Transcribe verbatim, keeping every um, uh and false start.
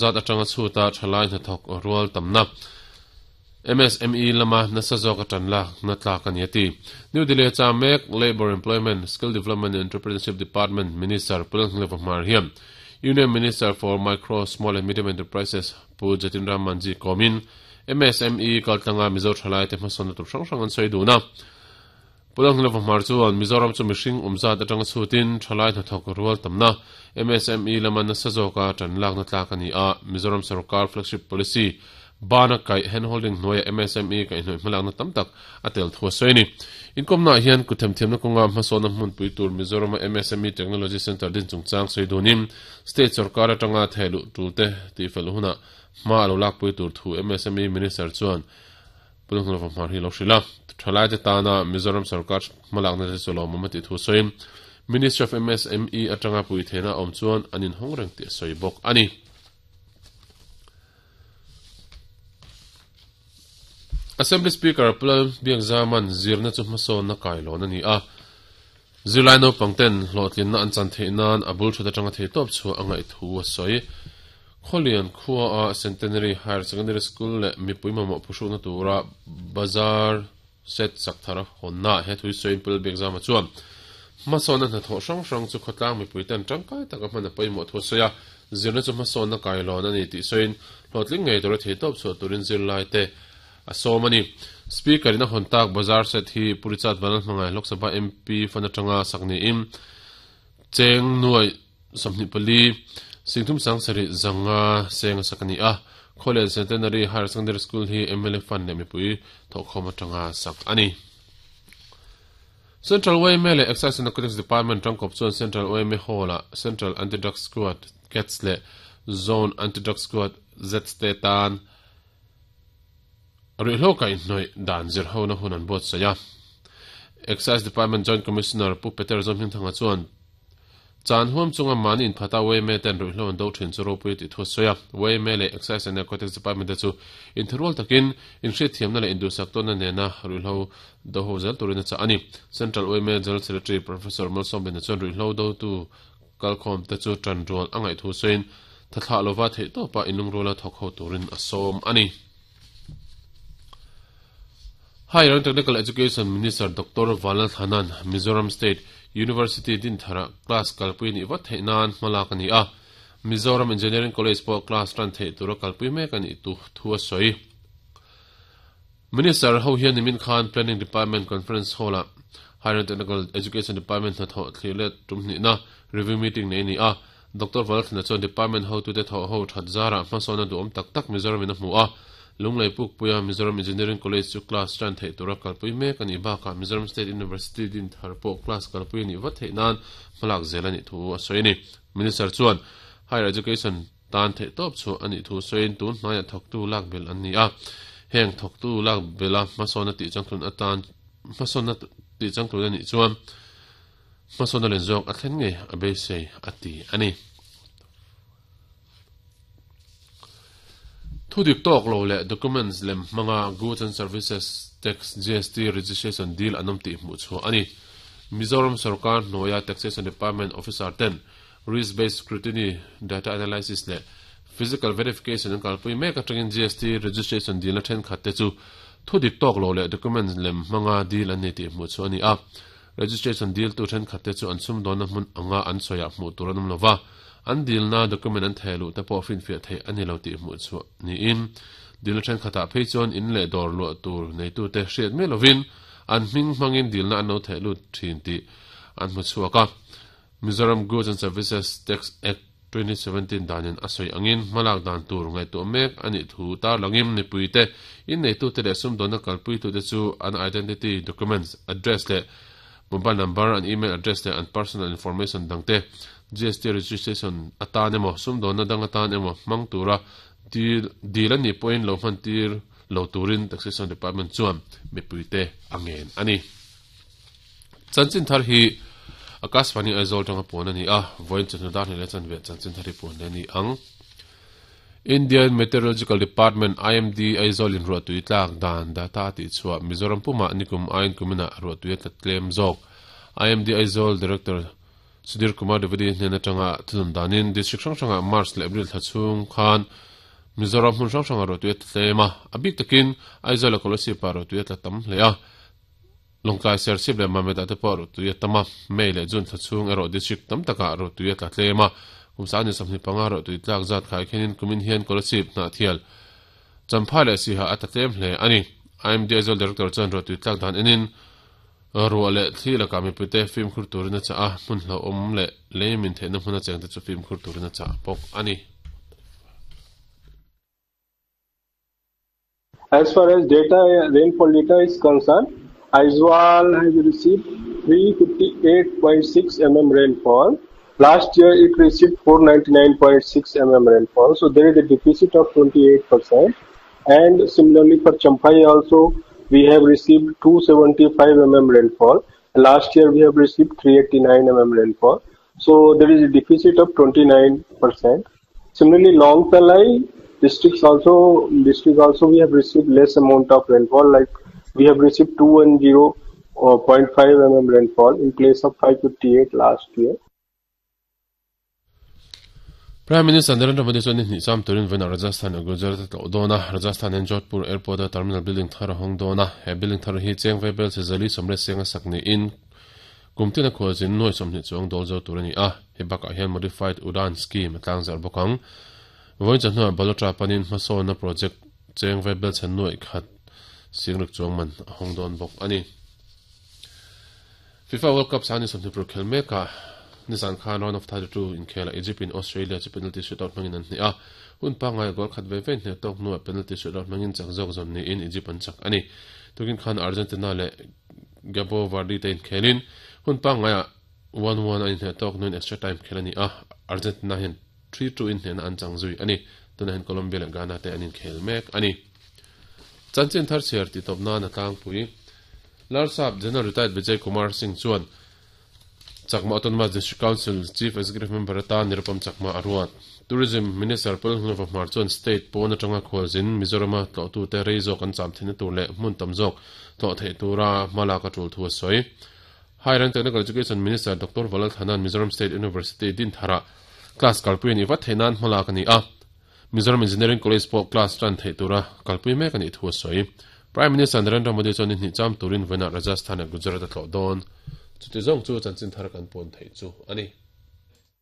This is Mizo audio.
zat atanga chuta thalai hnathawk rual tamna M S M E lama nasa zawk atan la na tlak ani ati New Delhi cha mek Labor Employment Skill Development and Entrepreneurship Department Minister Pulngleva Hmar hiam Union Minister for Micro Small and Medium Enterprises Pu Jatin Ram Manji komin M S M E kaltanga Mizo thalai te hmasawn tur hrang hrang an sawi duna Pulngleva Hmar chuan Mizoram chu mihring umzat atanga chutin thalai hnathawk rual tamna M S M E lama nasa zawka tan lak na tlak ani a Mizoram Sarkar flagship policy bana kai handholding noya M S M E kai noi hmalak na tamtak atel thua soini inkom na hian kuthem them na konga hmasona hmun pui tur Mizoram M S M E Technology Center din chungchang soidunim state sarkar atanga thelu tulte ti fel huna ma lo lak pui tur thu M S M E minister chuan pulung lo mar hi lo shrila thalai te tana Mizoram sarkar hmalak na chulo mamati thu soim Minister of M S M E atanga pui thena om chuan anin hongreng ti soibok ani Assembly Speaker Pulal Biak Zaman zirna chu hmasawn na kailon ani a zirlai naupang ten hlawhtlin na an chan theih nan a bul thut atanga thei tawp chu a ngaih thu a sawi Khawlian khua a Centenary Higher Secondary School leh mipui mamawh phuhrukna tura bazar set sak thar hawnna he thui sawiin Pulal Biak Zama chuan hmasawn na hnathawh hrang hrang chu khawtlang mipui ten tangkai taka hman a pawimawh thu a sawi a zirna chu hmasawn na kailawn ani tih sawiin hlawhtling ngei tura thei tawp chhuah turin zirlai te asomani speaker ina hontak bazar set hi purichat vanal hmangai Lok Sabha M P fanatanga sakni im cheng nuai samni pali singthum sang sari zanga seng sakani a Khawlian Centenary Higher Secondary School hi M L A fan le mipui thokhom atanga sak ani Central Y M A le Excise and Narcotics Department tangkop chuan Central Y M A Hall a Central Anti-Drug Squad C A T S le Zone Anti-Drug Squad Z te tan Ruihhlo kai hnoi dan zir ho na hun an buat saya Excise Department Joint Commissioner Pu Peter Zomhing thanga chuan chan huam chunga mani in phata Y M A ten ruihhlo an do thin chu ropui ti thu soya Y M A le Excise and Narcotics Department te chu in thurwal takin in hriat thiamna le indusak tawn na nena ruihhlo do ho zel turin a cha ani Central Y M A General Secretary Professor Malsom Ben chuan ruihhlo do tu kalkhawm te chu tan rual a ngaih thu sawiin thathla lova theih tawpa inlung ruala thawk ho turin a sawm ani Higher and Technical Education Minister Doctor Vanlal Thanan Mizoram State University din thara class kalpui ni wat theih nan hmalak ani a Mizoram Engineering College pawh class ran theih tura kalpui mek ani tu thu a sawi Minister ho hian nimin khan Planning Department Conference Hall a Higher and Technical Education Department hnathawh thlir let tum hnih na review meeting nei ni a Doctor Vanlal Thana chuan department ho tu te thawh ho that zara hmasawn a duhawm tak tak Mizoram in a hmu a Lunglei Puk Puia Mizoram Engineering College chu class ran theih tura kalpui mek ani bakah Mizoram State University din thar pawh class kalpui ani vat theih nan hmalak zel ani thu a sawi ani Minister chuan Higher Education tan theih tawp chu ani thu sawiin tun hnaia thawktu lak bel an ni a heng thawktu lak bela hmasawn a tih changtlun atan hmasawn a tih changtlun ani chuan hmasawn a len zawk a thlen ngei a beisei a ti ani Thu dik tawk lo le documents lem hmanga Goods and Services Tax G S T registration deal anom tih hmuh chu ani Mizoram Sarkar hnuaia Taxation Department Officer ten risk based scrutiny data analysis le physical verification an kalpui mek atangin G S T registration deal na then khat te chu thu dik tawk lo le documents lem hmanga deal an ni tih hmuh chu ani a registration deal tu then khat te chu an sum dawn na hmun anga an soya hmuh tur anum lova an deal na document an thelu te pawh fin fiah thei ani lo tih hmuh chu ni in deal then khata phei chuan in leh dawr luah tur nei tu te hriat mai lovin an hming hmangin deal na an lo thehlu thin tih an hmu chhuak a Mizoram Goods and Services Tax Act twenty seventeen danin a sawi angin hmalak dan tur ngaihtuah mek ani thu tar langim nipui te in nei tu te leh sum dawn na kalpui tu te chu an identity documents address leh mobile number and email address le and personal information dangte G S T registration atan emaw sum dawn na dang atan emaw hmang tura deal deal ani point lo hman tir lo turin Taxation Department chuan mipui te angen ani chanchin thar hi Akashvani Aizawl tanga pawn ani a voin chanu dar ni le chan ve chanchin thar hi pawn le ni ang Indian Meteorological Department I M D Aizawl in ruah tui tlak dan data ti chua Mizoram puma nikum ain kumina ruah tui tla tlem zawk I M D Aizawl Director Sudhir Kumar Dwivedi hnena tanga thunun danin district hrang hranga March le April thachung khan Mizoram hmun hrang hranga rotui tlema abik takin Aizawl Kolasib pa rotui tla tam hlea Longkai Serchhip le Mamit te pawh rotui tama May le June thachung erawh district tam taka rotui tla tlema kumsa ni samhni panga rotui tlak zat khai khenin kumin hian Kolasib hna thial Champhai le Siha ata tlem hle ani I M D Aizawl Director chuan rotui tlak dan enin ruah le thli laka mipui film khur turina cha a hmun hlo awm le leimin theihna hmuna chengte chu film khur turina cha bawk ani. As far as data, rainfall data is concerned, Aizawl has received three fifty-eight point six millimeters rainfall. Last year it received four ninety-nine point six millimeters rainfall. So there is a deficit of twenty-eight percent. And similarly for Champhai also, we have received two seventy-five millimeters rainfall. Last year we have received three eighty-nine millimeters rainfall. So there is a deficit of twenty-nine percent. Similarly, Longtalai districts also, district also we have received less amount of rainfall, like we have received two hundred ten point five millimeters rainfall in place of five fifty-eight last year. Prime Minister Narendra Modi chuan ni sam turin vena Rajasthan a Gujarat tlo dona Rajasthan and Jodhpur Airport a terminal building thar hong dona he building thar hi cheng vebel se zali somre senga sakni in kumtina khojin noi somni chuang dol zo turani a he baka hian modified udan scheme tlang zar bokang voi channa balotra panin hmasawn na project cheng vebel chan noi khat singruk chuang man hong don bok ani. FIFA World Cup sani somni pro khel meka Nizan Khan round of thirty-two in Khela Egypt in Australia chu penalty shootout mangin an hnia hun pangai goal khat ve ve hne tok nu penalty shootout mangin chak jok zon ni in Egypt an chak ani tukin khan Argentina le Gabo Verde te in khelin hun pangai one one an hne tok nun extra time khelani a Argentina hin three two in hne an chang zui ani tuna hin Colombia le Ghana te anin khel mek ani chanchin thar cher ti topna na tang pui Larsap General Retired Vijay Kumar Singh chuan Chakma Autonomous District Council Chief Executive Member ata Nirupam Chakma aruat Tourism Minister Pulhnova Marchon State pawna tanga khawlzin Mizorama tlo tu te rei zawk an cham thina tur leh hmun tam zawk tlo thei tura hmala ka tul thu a sawi. Higher and Technical Education Minister Doctor Valal Thanan Mizoram State University din thara class kalpui ni vat theinan hmala ka ni a Mizoram Engineering College pawh class tan thei tura kalpui mek ani thu a sawi. Prime Minister Narendra Modi chuan ni cham turin vena Rajasthan at Gujarat tlo dawn. Chuti zawng chu chanchin thar kan pawn thei chu ani.